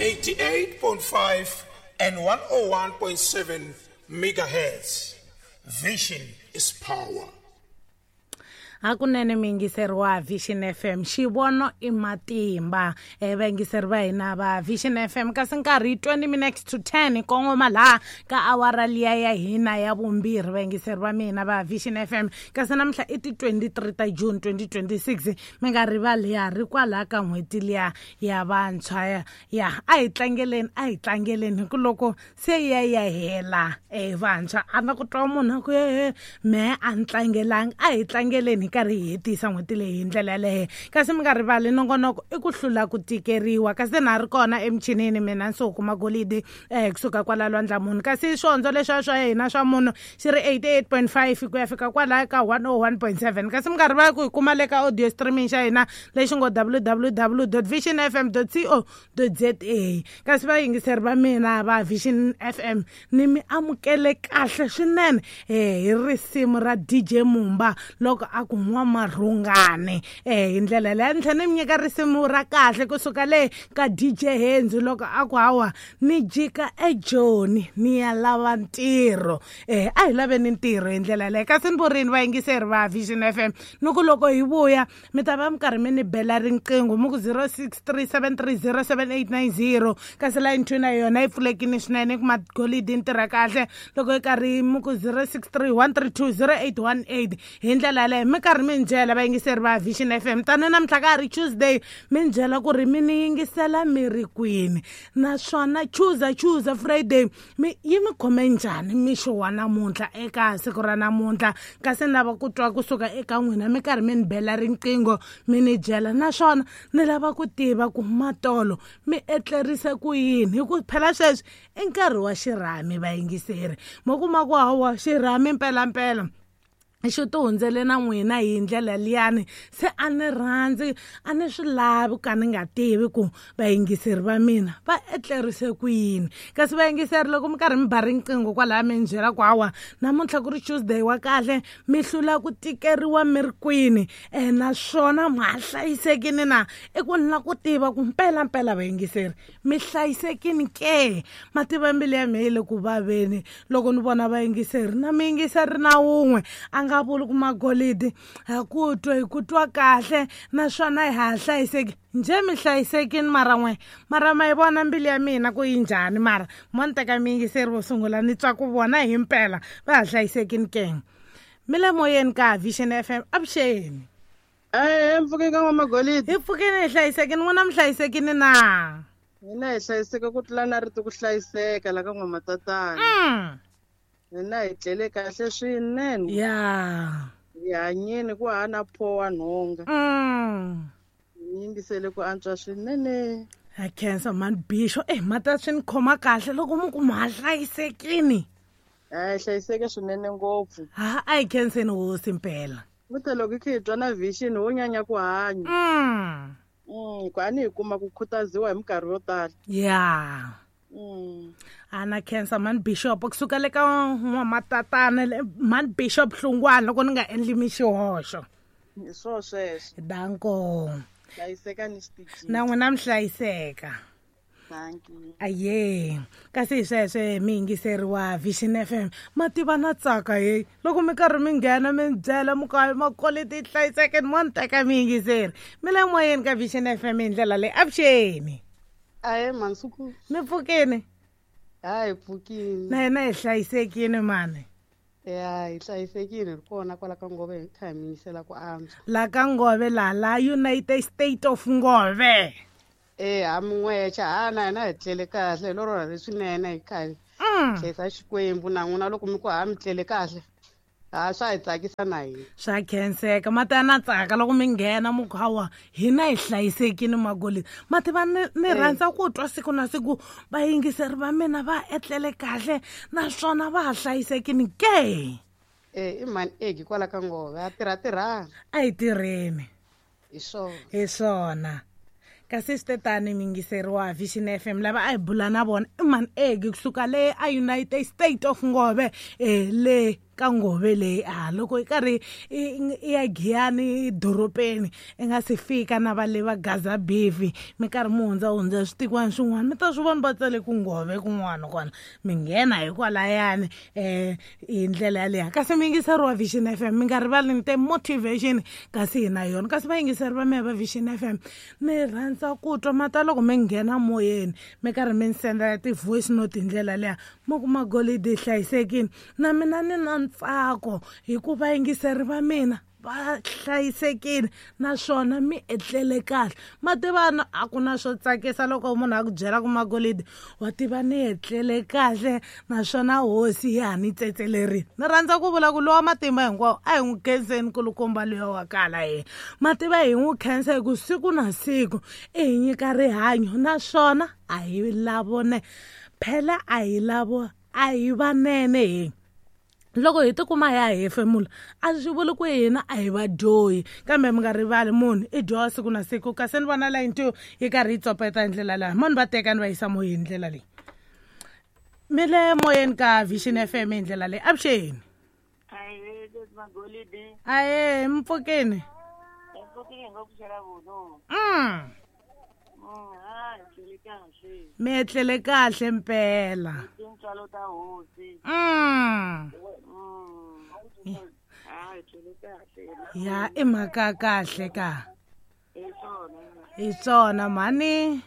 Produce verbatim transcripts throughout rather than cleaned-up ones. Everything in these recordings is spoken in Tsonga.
eighty-eight point five and one oh one point seven megahertz. Vision is power. Hakunene miyingiseri wa Vision F M, xivono i matimba. E vayingiseri va hina va Vision F M, kasi nkarhi twenty minutes to ten kongoma laha ka awara liya ya hina ya vumbirhi, vayingiseri va mina va Vision F M. Kasi namuntlha i ti twenty-three ta June twenty twenty-six, mi nga rivali ya ri kwalaha ka n'hweti liya ya vantshwa ya, ya a hi tlangeleni, a hi tlangeleni hi ku loko se ya ya hela e vantshwa a na ku twa munhu a ku e mehe a ni tlangelanga, a hi tlangeleni hi karhi hi hetisa n'hweti leyi hi ndlela yaleyo. Kasi mi nga rivali nongonoko i ku hlula ku tikeriwa. Kasi na ri kona emichinini mina Nsuku Magolidi eh kusuka kwala lwandla munhu. Kasi swondzo leswiya swa hina swa munhu xi ri eighty-eight point five ku ya fika kwalaya ka one oh one point seven. Kasi mi nga rivali ku hi kuma le ka audio streaming xa hina lexi ngo w w w dot vision f m dot co dot z a. Kasi vayingiseri va mina va Vision F M ni mi amukele kahle swinene eh hi risimu ra D J Mumba loko a ku n'wamarhungane eh hi ndlela leyi. Ni tlhela ni mi nyika risimu ra kahle kusuka le ka D J Henzi loko a ku hawa ni jika eJoni ni ya lava ntirho. Eh a hi laveni ntirho hi ndlela leyi. Kasi ni vurini vayingiseri va Vision F M ni ku loko hi vuya mi ta va mi karhi mi ni bela riqingho mi ku zero six three seven three zero seven eight nine zero. Kasi line two na yona yi pfulekile swinene ku Magolidi ni tirha kahle loko yi karhi mi ku zero six three one three two zero eight one eight. Hi ndlela yaleyo mi karhi mi ni byela vayingiseri va Vision F M tani namuntlha ka ha ri Tuesday, mi ni byela ku ri mi ni yingisela mi ri kwini, naswona Tuesday Tuesday Friday mi yi mi khome njhani mixo wa namuntlha eka siku ra namuntlha. Kasi ni lava ku twa kusuka eka n'wina mi karhi mi ni bela riqingho mi ni byela, naswona ni lava ku tiva ku matolo mi etlerise ku yini, hi ku phela sweswi i nkarhi wa xirhami vayingiseri. Mo kuma ku hawa xirhami mpelampela xi ti hundzele na n'wina hi ndlela liyani, se a ni rhandzi a ni swi lavi ka ni nga tivi ku vayingiseri va mina va etlerise ku yini. Kasi vayingiseri loko mi karhi mi ba riqingho kwalaya mi ni byela ku hawa namuntlha ku ri Tuesday wa kahle mi hlula ku tikeriwa mi ri kwini eh naswona ma hlayisekini na, i ku ni la ku tiva ku mpelampela vayingiseri mi hlayisekini ke. Mativa mbilu ya mina yi le ku vaveni loko ni vona vayingiseri na miyingiseri na wun'we a nga vuli ku Magolidi ha ku twa hi ku twa kahle naswona hi ha hlayiseki njhe mi hlayisekini mara n'we mara ma yi vona mbilu ya mina ku yi njhani, mara mo ni teka miyingiseri vo sungula ni twa ku vona hi mpela va ha hlayisekini ke. Mi le moyeni ka Vision F M, avuxeni. Eh mpfukeni ka N'waMagolidi. Hi pfukeni hi hlayisekini, n'wina mi hlayisekini na? Hina hi hlayiseke ku tlula na rito ku hlayiseka la ka N'wamatatana. Mm. Hina hi tlele kahle swinene. Ya. Hi hanyeni ku hana pho wa nhonga. Mm. Hi yingisele ku antswa swinene. Ha khensa man Bisho, eh mata swi ni khoma kahle loko mi ku ma hlayisekini. A hi hlayiseke swinene ngopfu. Ha a hi khenseni hosi mpela. Futhi loko hi kha hi twa na Vision wo nyanya ku hanya. Mm. Mm, ku a ni hi kuma ku khutaziwa hi minkarhi yo tala. Ya. Mm. Ana khensa man Bishop kusuka le ka N'wamatatana man Bishop Hlungwana loko ni nga endli mixihoxo. Hi swo sweswo. Danko. Hlayiseka ni xitichini. Na n'wina mi hlayiseka. Thank you. Aye. Kasi sweswe mi yingiseri wa Vision F M mativa na tsaka he loko mi karhi mi nghena mi byela mi ka Makoleti hlayiseke ni mo ni teka mi yingiseri. Mi le moyeni ka Vision F M hi ndlela leyi. Avuxeni. Aye Mansuku. Mi pfukini? Hayi pfukini. Na hina hi hlayisekini mani. Ya hi hlayisekile hi kona kwala ka Ngove hi kha hi mi yingisela ku antswa. La ka Ngove la la United State of Ngove. Eh ha min'wexa ha na hina hi tlele kahle hi loro ra leswinene hi kha hi hlayisa Xikwembu na n'wina loko mi ku ha mi tlele kahle. Ha swa hi tsakisa na hina. Swa khenseka mati na tsaka loko mi nghena mi ku hawa hina hi hlayisekini Magolidi. Mativa ni ni rhandza ku twa siku na siku vayingiseri va mina va etlele kahle naswona va ha hlayisekini ke. Eh i mani egi kwala ka Ngove a tirha tirhana. A hi tirheni. Hi swona. Hi swona. Kasi swi tani miyingiseri wa Vision F M lava a hi bula na vona i mani egi kusuka le a United State of Ngove eh le ka ngove leyi a loko i karhi i ya Giyani dorobeni i nga si fika na va le va Gaza Beef mi karhi mi hundza hundza switikwana swin'wana mi ta swi vona va tsale ku ngove kun'wana kona mi nghena hikwalaya eh hi ndlela yaleyo kasi mi yingiseri wa Vision F M mi nga rivali ni te motivation kasi hi na yona kasi vayingiseri va mehe va Vision F M ni rhandza ku twa mata loko mi nghena moyeni mi karhi mi ni sendela ti-voice note hi ndlela leya mo ku magolidi hlayisekile na mina ni na ntsako hikuva vayingiseri va mina va hlayisekile naswona mi etlele kahle mativana a ku na swo tsakisa loko munhu a ku byela ku magolidi wa tiva ni etlele kahle naswona hosi ya ha ni tsetselerile ni rhandza ku vula ku lowa matimba hinkwawo a hi n'wi khenseni kulukumba luya wa kala yena mativa hi n'wi khensa hi ku siku na siku i hi nyika rihanyo naswona a hi lavone phela a hi lavo a hi vanene hi loko hi tikuma ya hefemula a swi vuli ku hina a hi vadyohi kambe mi nga rivali munhu i dyoha siku na siku kasi ni vona line two yi karhi yi tsopeta hi ndlela leyi mani va teka ni va yisa moyeni hi ndlela leyi mi le moyeni ka Vision F M hi ndlela leyi avuxeni aye mpfukeni mm mi etlele kahle mpela mm ya i mhaka kahle ka hi swona mhani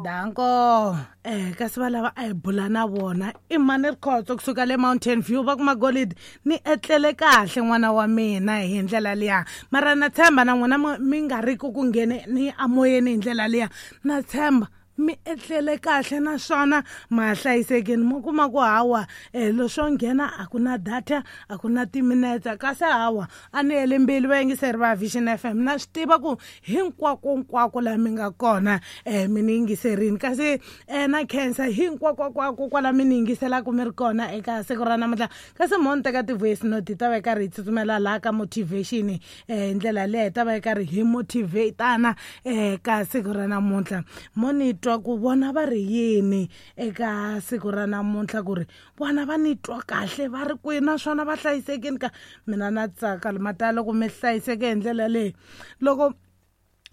danko eh kasi va lava a hi bula na vona i mhani Rikhotso kusuka le Mountain View va ku magolidi ni etlele kahle n'wana wa mina hi ndlela liya mara na tshemba na n'wina mi nga ri ku ku nghene ni amoyeni hi ndlela liya na tshemba mi etlele kahle naswona ma hlayisekile mo kuma ku hawa eh leswo nghena a ku na data a ku na timinetse kasi hawa a ni heli mbilu vayingiseri va Vision F M na swi tiva ku hinkwakonkwako laha mi nga kona eh mi ni yingiserini kasi eh na khensa hinkwakonkwako kwala mi ni yingiselaka mi ri kona eka siku ra namuntlha kasi mo ni teka ti-voice note hi ta va yi karhi hi tsutsumela laha ka motivation eh ndlela leyi hi ta va yi karhi hi motivatana eh ka siku ra namuntlha mo ni twa ku vona va ri yini eka siku ra namuntlha ku ri vona va ni twa kahle va ri kwihi naswona va hlayisekile ka mina na tsaka mata loko mi hlayiseke hi ndlela leyi loko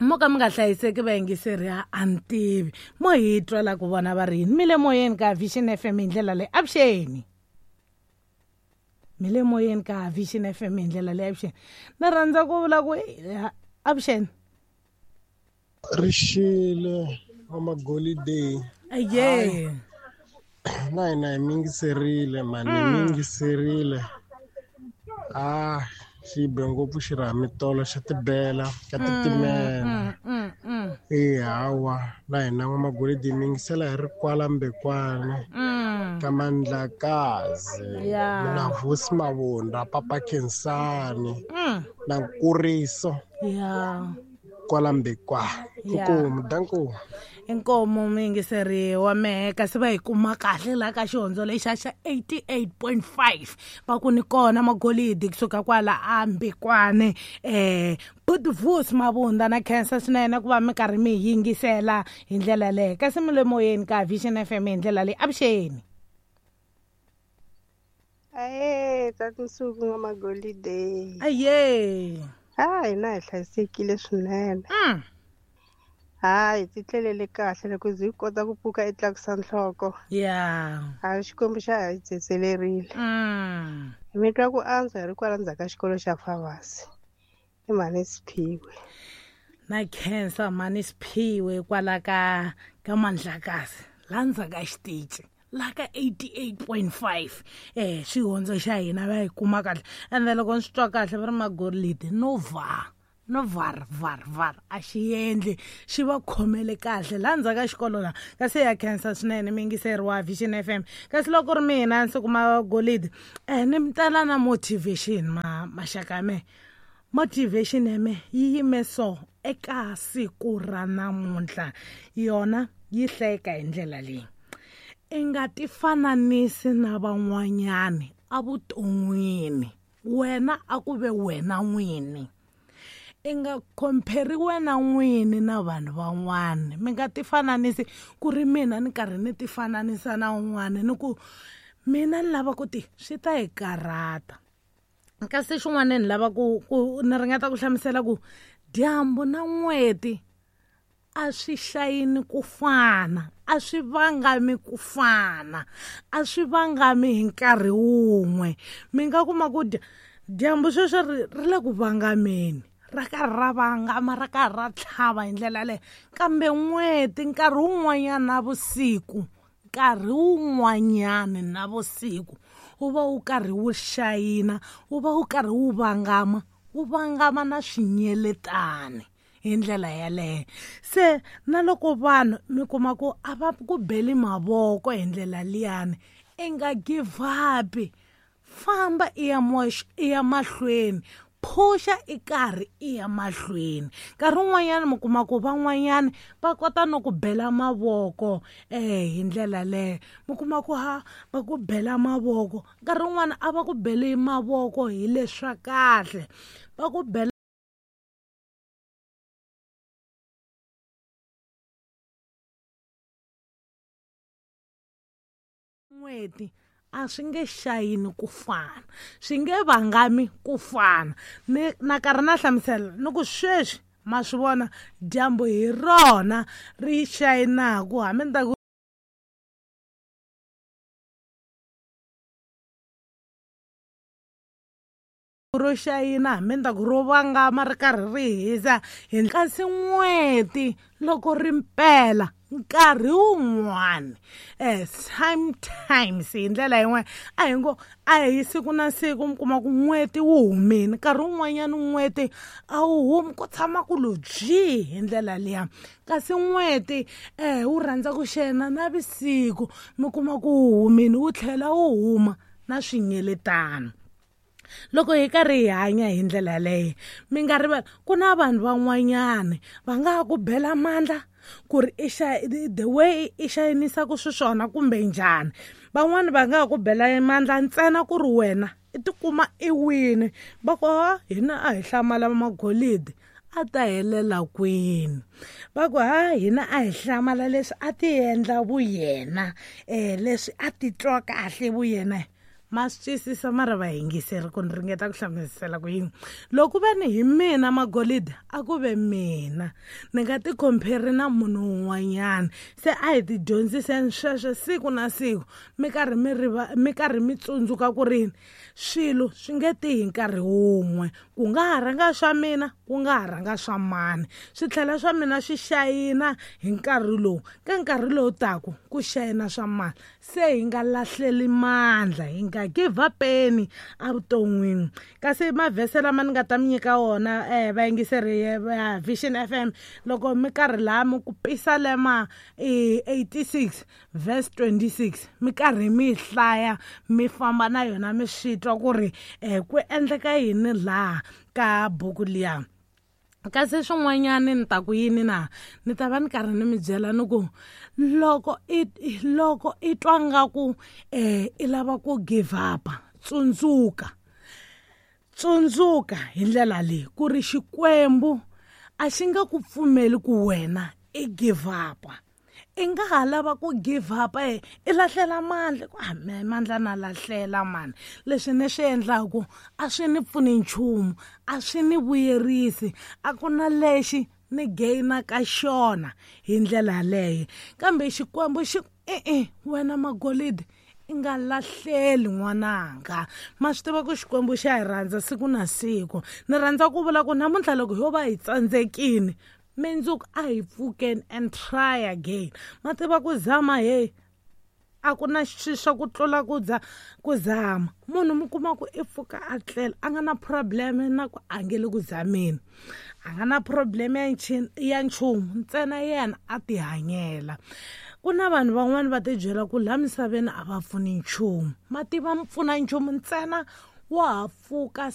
mo ka mi nga hlayiseki vayingiseri a ni tivi mo hi twa la ku vona va ri yini mi le moyeni ka Vision F M hi ndlela leyi avuxeni mi le moyeni ka Vision F M hi ndlela leyi avuxeni ni rhandza ku vula ku avuxeni rixile Magolide aye na hina hi mingiserile mani hi mingiserile ah xi be ngopfu xirhamitolo xa tibela ka titimela e hawa na hina n'wamagolidi hi mingisela hi ri kwala Mbekwane ka Mandlakazi na Vusi Mavunda Papa Khensani na Nkuriso kwala Mbekwane inkomu danko inkomu muyingiseri wa mehe kasi va hi kuma kahle laha ka xihondzo lexa xa eighty-eight point five va ku ni kona magolidi kusuka kwala a Mbekwane eh Vusi Mavunda na khensa swinene ku va mi karhi mi yingisela hi ndlela leyi kasi mi le moyeni ka Vision F M hi ndlela leyi avuxeni aye tsatinsuku n'wamagolide aye ha hina hi hlayisekile swinene mm. hayi ti tlelele kahle loko ndzi kota ku pfuka i tlakusa nhloko ya hayi Xikwembu xa ha hi tsetselerile mm. mi twa ku antswa hi ri kwala ndzhaku ka xikolo xa Favasi i mhani Siphiwe na khensa mhani Siphiwe kwala ka ka Mandlakazi la ndzhaku ka xitici la ka eighty-eight point five eh xihondzo xa hina va hi kuma kahle ende loko ni swi twa kahle va ri magolidi no va no var var var a xi endli xi va khomele kahle laha ndzhaku ka xikolo laha kasi ya khensa swinene miyingiseri wa Vision F M kasi loko ri mina ndzi kuma golidi eh ni mi tala na motivation ma maxaka ya mehe motivation ya mehe yi yime so eka siku ra namuntlha yona yi hlayeka hi ndlela leyi i nga ti fananisi na van'wanyani evuton'wini wena a ku ve wena n'wini i nga compare wena n'wini na vanhu van'wana mi nga ti fananisi ku ri mina ni karhi ni ti fananisa na un'wana ni ku Mina ni lava ku ti swi ta hi karhata. Kasi xin'wana ni lava ku ku ni ringeta ku hlamusela ku dyambu na n'weti a swi xayini ku fana, a swi vangami ku fana, a swi vangami hi nkarhi wun'we. Mi nga kuma ku dyambu sweswo ri ri le ku vangameni, ra karhi ra vangama, ra karhi ra tlhava hi ndlela yaleyo. Kambe n'weti nkarhi wun'wanyana na vusiku, nkarhi wun'wanyana na vusiku wu va wu karhi wu xayina, wu va wu karhi wu vangama, wu vangama na swinyeletani hi ndlela yaleyo. Se na loko vanhu mi kuma ku a va ku beli mavoko hi ndlela liyani, i nga give up, famba i ya i ya mahlweni, phusha i karhi i ya mahlweni. Nkarhi wun'wanyana mi kuma ku van'wanyana va kota no ku bela mavoko eh hi ndlela leyo, mi kuma ku ha va ku bela mavoko. Nkarhi wun'wana a va ku beli mavoko hi leswa kahle, va ku bela n'weti a swi nge xayini ku fana, swi nge vangami ku fana. Ni na karhi na hlamusela ni ku sweswi ma swi vona dyambu hi rona ri xayinaku, hambi ni ta ku ro xayina, hambi ni ta ku ro vangama ri karhi ri hisa hi. Kasi n'weti loko ri mpela nkarhi wun'wani eh sometimes hi ndlela yin'wana a hi ngo a hi siku na siku mi kuma ku n'weti wu humile, nkarhi wun'wanyana n'weti a wu humi, ku tshama ku lo byi hi ndlela liya. Kasi n'weti eh wu rhandza ku xena na vusiku, mi kuma ku wu humile wu tlhela wu huma na swinyeletano. Loko hi karhi hi hanya hi ndlela leyo, mi nga rivali ku na vanhu van'wanyana va nga ha ku bela mandla ku ri i xa the way i xayinisaka xiswona kumbe njhani. Van'wani va nga ha ku bela mandla ntsena ku ri wena i tikuma i wini, va ku ha hina a hi hlamala magolidi a ta helela kwini, va ku ha hina a hi hlamala leswi a ti endla vuyena eh leswi a titwa kahle vuyena. Ma swi twisisa mara va yingiseri ku ni ringeta ku hlamusela ku yini. Loko ve ni hi mina magolidi a ku ve mina, ni nga ti compare na munhu un'wanyana. Se a hi ti dyondziseni sweswo siku na siku, mi karhi mi riva, mi karhi mi tsundzuka ku ri swilo swi nge ti hi nkarhi wun'we. Ku nga ha rhanga swa mina, ku nga ha rhanga swa mani, swi tlhela swa mina swi xayina hi nkarhi lowu, ka nkarhi lowu taku ku xayina swa mani. Se hi nga lahleli mandla, hi nga give up-eni evuton'wini. Kasi mavhese lama ni nga ta mi nyika wona eh vayingiseri va Vision F M, loko mi karhi laha mi ku Pisalema eighty-six verse twenty-six, mi karhi mi hlaya mi famba na yona mi swi twa ku ri eh ku endleka yini laha ka buku liya. Kasi swin'wanyana ni ta ku yini na, ni ta va ni karhi ni mi byela ni ku loko i loko i twa nga ku eh i lava ku give up, tsundzuka tsundzuka hi ndlela leyi ku ri Xikwembu a xi nga ku pfumeli ku wena i give up. I nga ha lava ku give up eh i lahlela mandla, ku a mandla na lahlela mani, leswi ni swi endlaku a swi ni pfuni nchumu, a swi ni vuyerisi, a ku na lexi ni gaina ka xona hi ndlela yaleyo. Kambe Xikwembu xi e-e wena magolidi i nga lahleli n'wananga. Ma swi tiva ku Xikwembu xa hi rhandza siku na siku. Ni rhandza ku vula ku namuntlha loko ho va hi tsandzekile, mindzuku a hi pfukeni and try again. Ma tiva ku zama hey a ku na xi swa ku tlula ku dza ku zama. Munhu mi kuma ku i pfuka a tlela a nga na problem na ku a nge le ku zameni, a nga na problem ya ya nchumu, ntsena yena a ti hanyela. Ku na vanhu van'wani va ti byela ku laha misaveni a va pfuni nchumu, ma tiva mi pfuna nchumu ntsena wa ha pfuka